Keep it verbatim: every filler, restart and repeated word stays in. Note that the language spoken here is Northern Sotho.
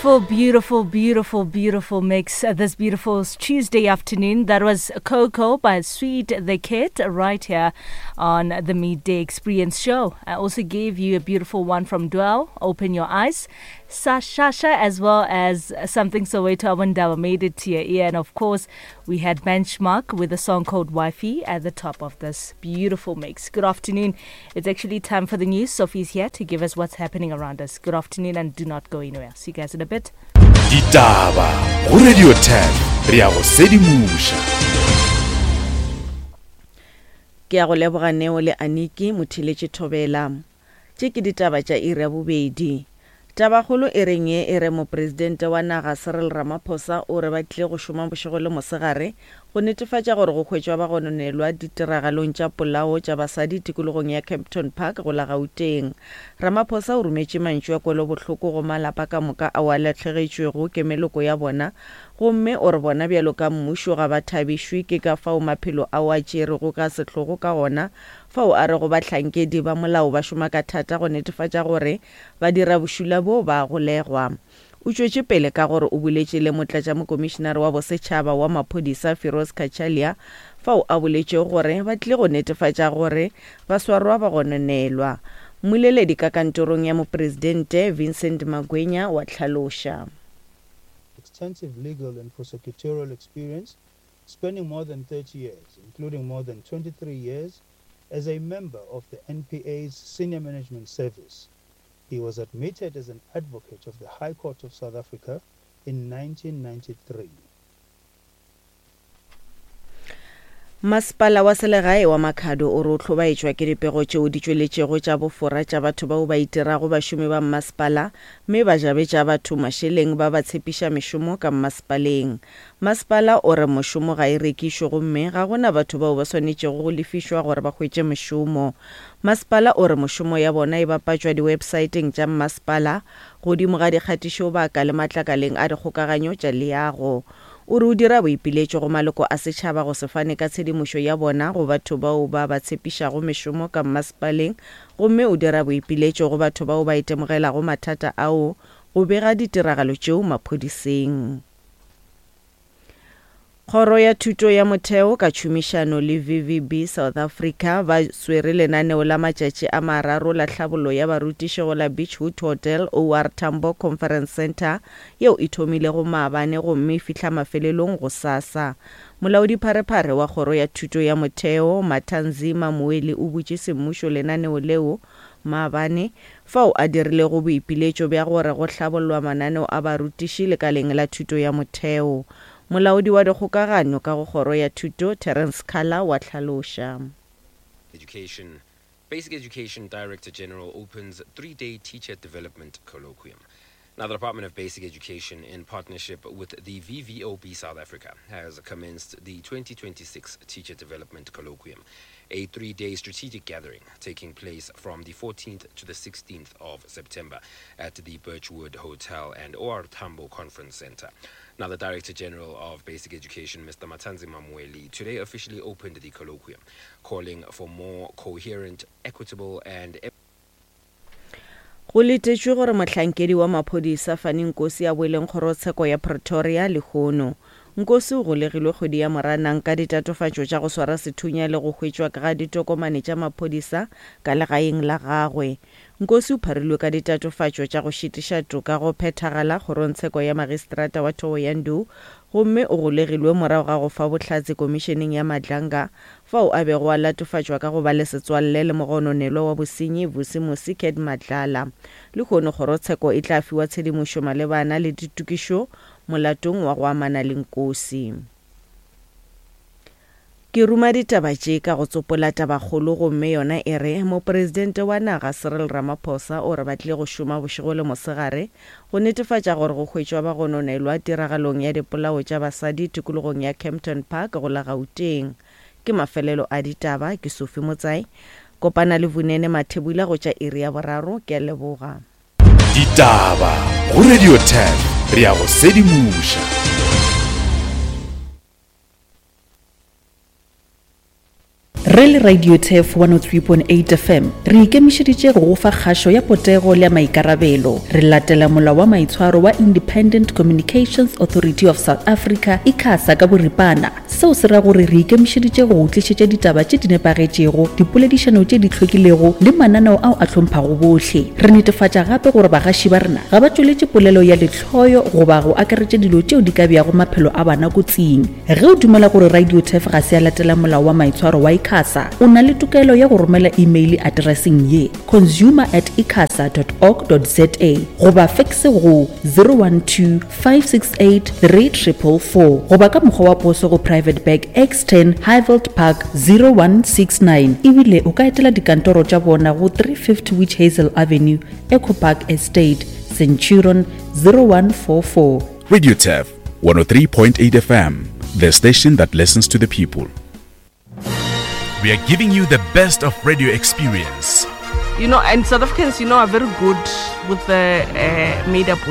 Beautiful, beautiful, beautiful, beautiful mix uh, this beautiful Tuesday afternoon. That was Coco by Sweet the Kid right here on the Midday Experience Show. I also gave you a beautiful one from Dwell, Open Your Eyes, Sasha, as well as Something Soweto Awandaba made it to your ear. And of course, we had Benchmark with a song called Wifey at the top of this beautiful mix. Good afternoon. It's actually time for the news. Sophie's here to give us what's happening around us. Good afternoon and do not go anywhere. See you guys in a bit. Ditaba go Radio ten re ya go sedimoša. Ke ya go leboga Neo le Aniki Motheletše Thobela. Tše ke ditaba tša iri ya bobedi. Tabakgolo e reng ye e re mopresidente wa naga Cyril Ramaphosa o re ba tlile go šoma bošego le mosegare go netefatša gore go hwetšwa ba gononelwa ditiragalong tša polao tša basadi tikologong ya Kempton Park go la Gauteng. Ramaphosa o rometše mantšu a kwelobohloko go malapa ka moka ao a lahlegetšwego ke meloko ya bona, gomme o re bona bjalo ka mmušo ga ba thabišwe ke ka fao maphelo ao a tšerego ka sehlogo ka gona, fao a rego bahlankedi ba molao ba šoma ka thata go netefatša gore ba dira bošula bo ba golegwa. O tšwetše pele ka gore o boletše le motlatšamokomišenare wa bosetšhaba wa maphodisa Firoz Cachalia, fao a boletšego gore ba tlile go netefatša gore ba swarwa ba gononelwa. Mmoleledi ka kantorong ya mopresidente Vincent Magwenya wa hlaloša. Extensive legal and prosecutorial experience spanning more than thirty years, including more than twenty-three years as a member of the N P A's Senior Management Service. He was admitted as an advocate of the High Court of South Africa in nineteen ninety-three. Masepala wa selegae wa Makhado o re o hlobaetšwa ke dipego tšeo di tšweletšego tša bofora tša batho bao ba itirago bašomi ba mmasepala mme ba jabetša batho mašeleng ba ba tshepiša mešomo ka mmasepaleng. Masepala o re mošomo ga e rekišwe gomme ga gona batho bao ba swanetšego go lefišwa gore ba hwetše mešomo. Masepala o re mošomo ya bona e bapatšwa di-websaeteng tša mmasepala godimo ga dikgatišobaka le matlakaleng a dikgokaganyo tša leago. O re o dira boipiletšo go maloko a setšhaba go se fane ka tshedimošo ya bona go batho bao ba ba tshepišago mešomo ka mmasepaleng, gomme o dira boipiletšo go batho bao ba itemogelago mathata ao go bega ditiragalo tšeo maphodiseng. Kgoro ya Thuto ya Motheo ka tšhomišano le V V B South Africa ba swere lenaneo la matšatši a mararo la tlhabollo ya barutiši go la Beachwood Hotel O R Tambo Conference Center yeo e thomilego maabane gomme e fihla mafelelong gosasa. Molaodipharephare wa Kgoro ya Thuto ya Motheo Mathanzima Mweli o butše semmušo lenaneo leo maabane fao a dirilego boipiletšo bja gore go hlabollwa mananeo a barutiši lekaleng la thuto ya motheo. Molaodi wa dikgokagano ka go Kgoro ya Thuto Terence Khala wa hlaloša. Education. Basic Education Director General opens three-day teacher development colloquium. Now, the Department of Basic Education, in partnership with the V V O B South Africa, has commenced the twenty twenty-six Teacher Development Colloquium, a three-day strategic gathering taking place from the fourteenth to the sixteenth of September at the Birchwood Hotel and O R Tambo Conference Center. Now, the Director General of Basic Education, Mister Mathanzima Mweli, today officially opened the colloquium, calling for more coherent, equitable and Go letetšwe gore mohlankedi wa maphodisa Fani Nkosi a boeleng kgorotsheko ya Pretoria lehono. Nkosi o golegilwe kgwedi ya Moranang ka ditatofatšo tša go swara sethunya le go hwetšwa ga ditokomane tša maphodisa ka legaeng la gagwe. Nkosi o pharilwe ka ditatofatšo tša go šitiša toka go phethagala kgorongtsheko ya magistrata wa Thohoyandou, gomme o golegilwe morago ga go fa bohlatse komišeneng ya Madlanga fao a bego a latofatšwa ka go ba le setswalle le mogononelwa wa bosenyi Vusimusi Cat Matlala. Lehono kgorotsheko e tla fiwa tshedimošo malebana le ditokišo molatong wa go amana le Nkosi. Ke ruma ditaba tše ka go tsopola tabakgolo gomme yona e re mopresidente wa naga Cyril Ramaphosa o re ba tlile go šoma bošego le mosegare go netefatša gore go hwetšwa ba gononelwa tiragalong ya dipolao tša basadi tikologong ya Kempton Park go la Gauteng. Ke mafelelo a ditaba, ke Sophie Motsai. Kopana le Vunene Mathebula go tša iri ya boraro. Ke a leboga. Ditaba go Radio ten re ya go sedimoša. Re le Radio Turf one oh three point eight F M re ikemišeditše go go fa kgašo ya potego le ya maikarabelo. Re latela molao wa maitshwaro wa Independent Communications Authority of South Africa, ICASA ka boripana. Seo se ra gore re ikemišeditše go go tlišetša ditaba tše di nepagetšego, dipoledišano tše di hlwekilego le mananeo ao a hlomphago bohle. Re netefatša gape gore bagaši ba rena ga ba tšweletše polelo ya lehloyo goba go akaretša dilo tšeo di ka beago maphelo a bana kotsing. Ge o dumela gore Radio Turf ga se ya latela molao wa maitshwaro wa ICASA, o na le tokelo ya go romela imeile atereseng ye, consumer at icasa dot org dot za goba fekse go zero one two five six eight three triple four goba ka mokgwa wa poso go Private Bag X ten Highveld Park zero one six nine. Ebile o ka etela dikantoro tša bona go three fifty Witch Hazel Avenue, Echo Park Estate, Centurion zero one four four. Radio Turf one oh three point eight F M, the station that listens to the people. We are giving you the best of radio experience. You know, and South Africans, you know, are very good with the, uh, made-up words.